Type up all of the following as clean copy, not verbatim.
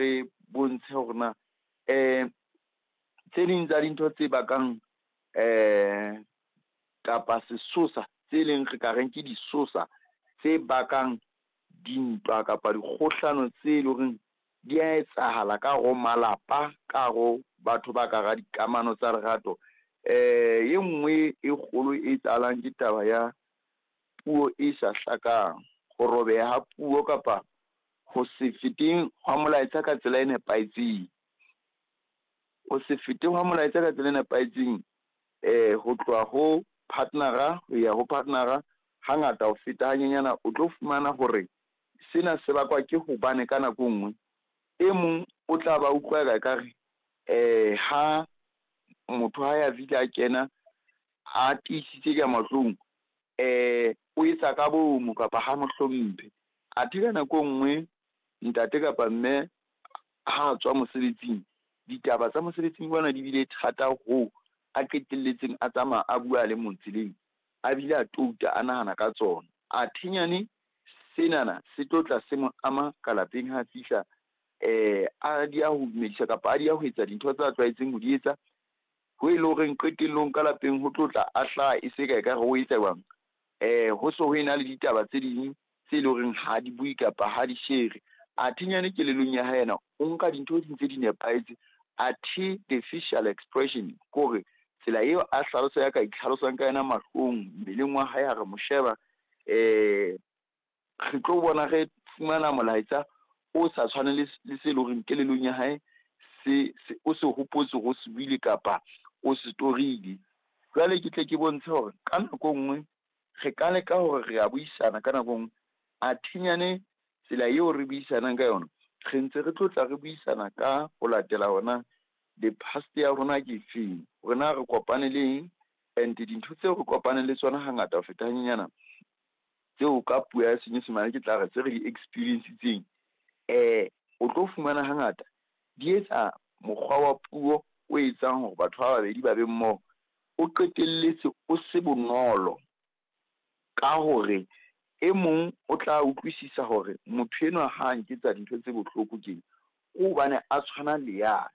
Re bontshe hore na tse ding tsa dintho tse bakang kapa sesosa tse leng re ka reng ke disosa tse bakang dintwa kapa dikgohlano tse leng horeng di a etsahala ka hare ho malapa, ka hare ho batho ba ka hara dikamano tsa lerato. E nngwe e kgolo e etsahalang ke taba ya puo e sa hlakang, ho robeha ha puo kapa ho se feteng hwa molaetsa ka tsela e nepahetseng. Ho se fete hwa molaetsa ka tsela e nepahetseng ho tloha ho partner-a ho ya ho partner-a, hangata ho feta hanyenyana o tlo fumana hore sena se bakwa ke hobane ka nako e nngwe e mong o tla ba utlwa ekare ha motho ha ya a kena a tiisitse ka mahlong, o etsa ka bomo kapa ha mo hlomphe. Athe ka nako e nngwe ntate kapa mme ha tswa mosebetsing, ditaba tsa mosebetsing kwana di bile thata hoo a qetelletseng a tsamaya a bua a le mong tseleng, a bile a touta a nahana ka tsona. Athe nyane senana se tlo tla se mo ama ka lapeng ha fihla, a dieha ho dumedisa kapa a dieha ho etsa dintho tsa tlwaetseng ho di etsa, ho e le horeng qetellong ka lapeng ho tlo tla a hlaha e se ka ekare o etsa jwang. Ho se ho ena le ditaba tse ding tse leng horeng ha di bue kapa ha di shere. Athe nyane kelellong ya hae yena o nka dintho di ntse di nepahetse, athe the facial expression kore tsela eo a hlalosa ya ka itlhalosang ka yona mahlong, mmeleng wa hae ha re mo sheba, re tlo bona re fumana molaetsa o sa tshwane le le se leng hore kelellong ya hae se, se o se hopotse hore o se buile kapa o se torile. Jwale ke tle ke bontshe hore ka nako e nngwe re ka leka hore re a buisana ka nako e nngwe, athe nyane tsela eo re buisanang ka yona, re ntse re tlo tla re buisana ka ho latela hona the past ya rona ke efeng, hore na re kopane le eng, and dintho tseo re kopaneng le tsona hangata ho feta hanyenyana, tseo ka puo ya Senyesemane ke tla re tse re di experience-itseng, o tlo fumana hangata di etsa mokgwa wa puo o etsang hore batho ba babedi ba be mmoho, o qetelletse o se bonolo ka hore e mong o tla utlwisisa hore motho enwa ha nketsa dintho tse bohloko tjena, ke hobane a tshwana le yane,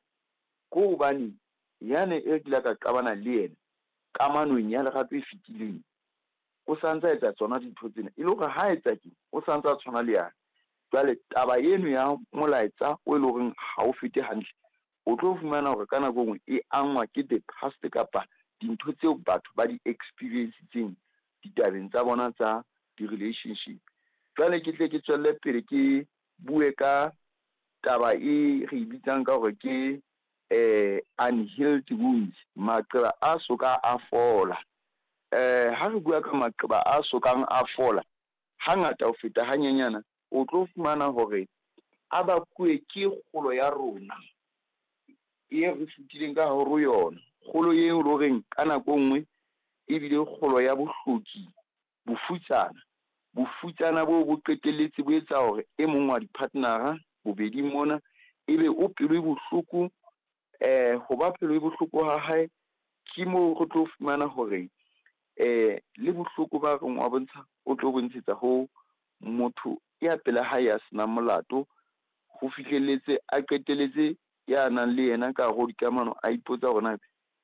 ke hobane yane e kile ka qabana le yena kamanong ya lerato e fetileng, o sa ntsa etsa tsona dintho tsena, e le hore ha etsa tje o sa ntsa tshwana le yane. Jwale taba eno ya molaetsa o e leng horeng ha o fete hantle, o tlo fumana hore ka nako e nngwe e angwa ke the past kapa dintho tseo batho ba di experience-itseng ditabeng tsa bona tsa di-relationship. Jwale ke tle ke tswelle pele ke bue ka taba e re bitsang ka hore ke unhealed wounds, maqeba a soka a fola. Ha re bua ka maqeba a sokang a fola, hangata ho feta hanyenyana, o tlo fumana hore a bakuwe ke kgolo ya rona e re fetileng ka hare ho yona. Kgolo eo e le horeng ka nako e nngwe ebile kgolo ya bohloki, bofutsana. Bofutsana boo bo qetelletse bo etsa hore e mong wa di-partner-a bobeding mona, ebe o pelo e bohloko. Ho ba pelo e bohloko ha hae, ke moo re tlo fumana hore le bohloko ba reng wa bontsha, o tlo bontshetsa ho motho ya pela hae ya senang molato. Ho fihlelletse a qetelletse ya nang le yena ka hare ho dikamano, a ipotsa hore na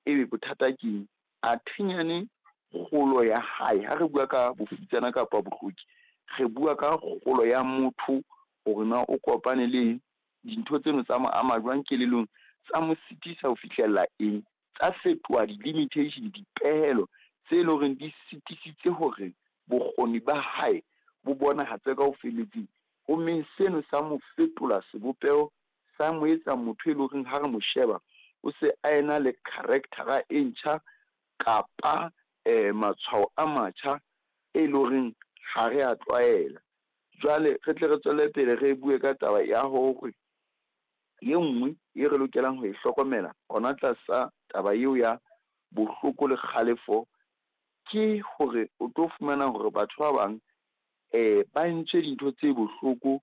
ebe bothata keng. Athe nyane kgolo ya hae, ha re bua ka bofutsana kapa bohloki, re bua ka kgolo ya motho hore na o kopane le eng, dintho tseno tsa mo ama jwang kelellong, tsa mo sitisa ho fihlella eng, tsa fetoha di-limitation, dipehelo tse leng hore di sitisitse hore bokgoni ba hae bo bonahatse ka ho felletseng. Ho mmeng seno sa mo fetola sebopeho, sa mo etsa motho e leng horeng ha re mo sheba, o se a ena le character-a e ntjha kapa matshwao a matjha e leng horeng ha re a tlwaela. Jwale re tle re tswele pele re bue ka taba ya hore e nngwe e re lokelang ho e hlokomela hona tlasa taba eo ya bohloko le kgalefo, ke hore o tlo fumana hore batho ba bang ba entswe dintho tse bohloko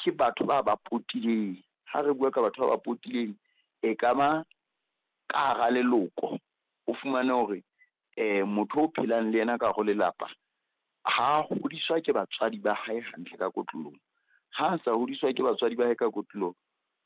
ke batho ba ba potileng. Ha re bua ka batho ba ba potileng, e ka ba ka hara leloko, o fumane hore motho o phelang le yena ka hare ho lelapa, ha hodiswa ke batswadi ba hae hantle ka kotloloho. Ha sa hodiswa ke batswadi ba hae ka kotloloho.